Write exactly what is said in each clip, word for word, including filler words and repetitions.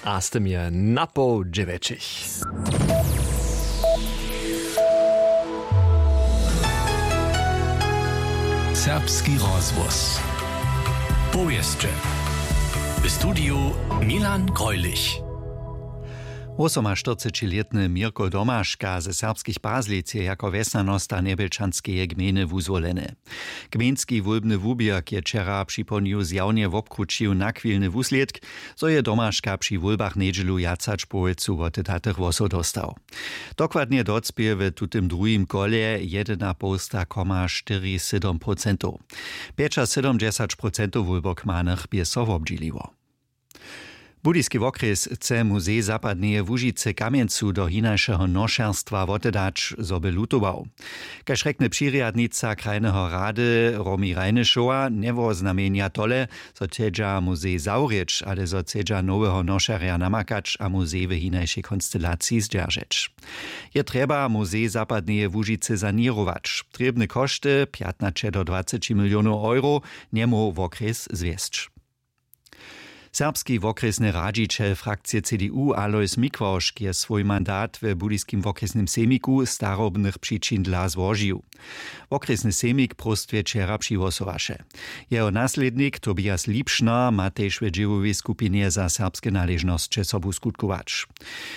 A z tym je na poł dźewjećich. Serbski rozhłos. Powěsće. W studiju Milan Greulich. Wosomaštyrcećilětny Měrko Domaška ze Serbskich Pazlic je jako wjesnjanosta Njebjelčanskeje gmejny wuzwoleny. Gmejnski wólbny wuběrk je wčera připołdnju zjawnje wobkrućił nachwilny wuslědk, zo je Domaška při wólbach njedźelu wjac hač połojcu wotedatych hłosow dóstał. Dokładnje docpě w tutym druhim kolje jedynapołsta koma štyri sydom procentow. Pjećasydomdźesać procentow wólbokmanych bě so wobdźěliło. Budyski wokrjes chce muzej zapadneje łužicy kamjencu do hinašeho nošerstwa wotedać, zo by lutował. Kaž rjekny přirjadnica krajneho rady Romi Rajnyšowa, njewoznamjenja tole, zo chcedźa muzej zawrěć, ale zo chcedźa noweho nošerja namakać a muzej w hinašej konstelaciji zdźeržeć. Je trjeba muzej zapadneje łužicy saněrować. Trěbne košty pjatnaće do dwaceći milionow euro, njemóhł wokrjes zwjesć. Serbski wokrjesny radźićel frakcije cdu alois mikławšk je swój mandat we budyskim wokrjesnym sejmiku starobnych přičin dla złožił. Wokrjesny sejmik próstwje wčera přihłosowaše. Jeho naslědnik tobias lipšner ma tež w dźěłowej skupinje za serbske naležnosće sobu skutkować.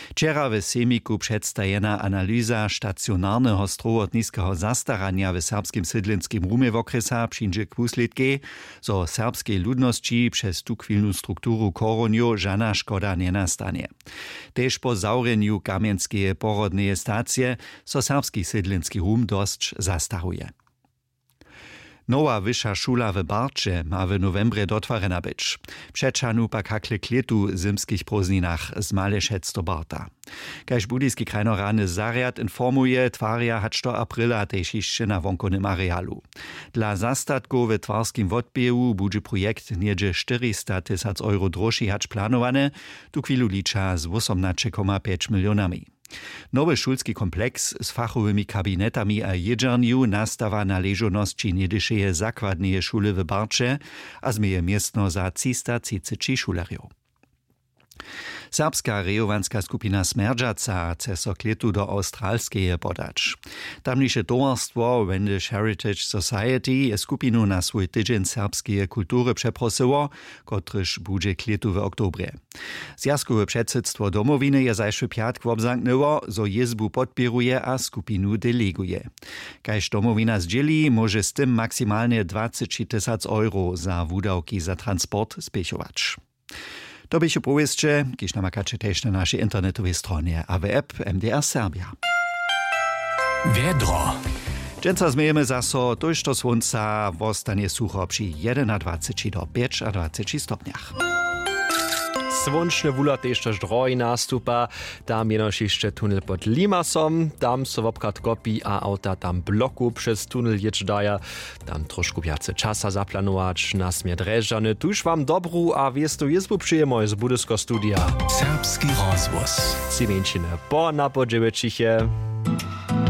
Wčera w sejmiku předstajena analyza stacionarneho strowotniskeho zastaranja w serbskim sydlenskim rumje wokrjesa přińdźe k wuslědkej, zo serbskej ludnosći přez tuchwilnu strukturu chorunjow žana škoda njenastanje. Tež po zawrjenju kamjenskeje porodneje stacije so serbski sydlenski rum dosć zastaruje. Nowa wyša šula w barće ma w nowembrje dotwarjena być. Přećahnu pak hakle k lětu w zymskich prózdninach z malešec do barta. Kaž budyski krajnoradny zarjad informuje, twarja hač do aprila tež hišće na wonkownym arealu. Dla zastatkow w twarskim wotběhu budźe projekt něhdźe štyristatysac euro droši hač planowany. Tuchwilu liča z wósomnaće koma pjeć milionami. Nowy šulski kompleks z fachowymi kabinetami a jědźernju nastawa na ležownosći něhdyšeje zakładneje šule w barće a změje městno za třista třiceći šulerjow. Serbska rejowanska skupina smjerdźaca chce so k lětu do awstralskeje podać. Tamniše towarstwo wendish heritage society je skupinu na swój tydźeń serbskeje kultury přeprosyło, kotryž budźe k lětu w oktobrje. Zwjazkowe předsydstwo Domowiny je zašły pjatk wobzamknyło, zo jězbu podpěruje a skupinu deleguje. Kaž Domowina zdźěli, móže z tym maksimalnje dwaceći tysac euro za wudawki za transport spěchować. To běchu powěsće, kiž namakaće tež na našej internetowej stronje a w app M D R Serbia. Wjedro. Dźensa změjemy zaso, tójšto słónca, wostanje sucho při jedynadwaceći do pjećadwaceći stopnjach. Słónčny wuhlar tež tož drohi nastupa. Tam jenož hišće tunel pod Limasom, tam so wobchad kopi a awta tam bloku přez tunel jěć daja. Tam trošku wjace časa zaplanować. Na směr Drježdźany tuž wam dobru a wěstu jězbu přejemoj z Budyskeho studija. Serbski rozhłos. Tři mjeńšiny po na po dźewjećich je.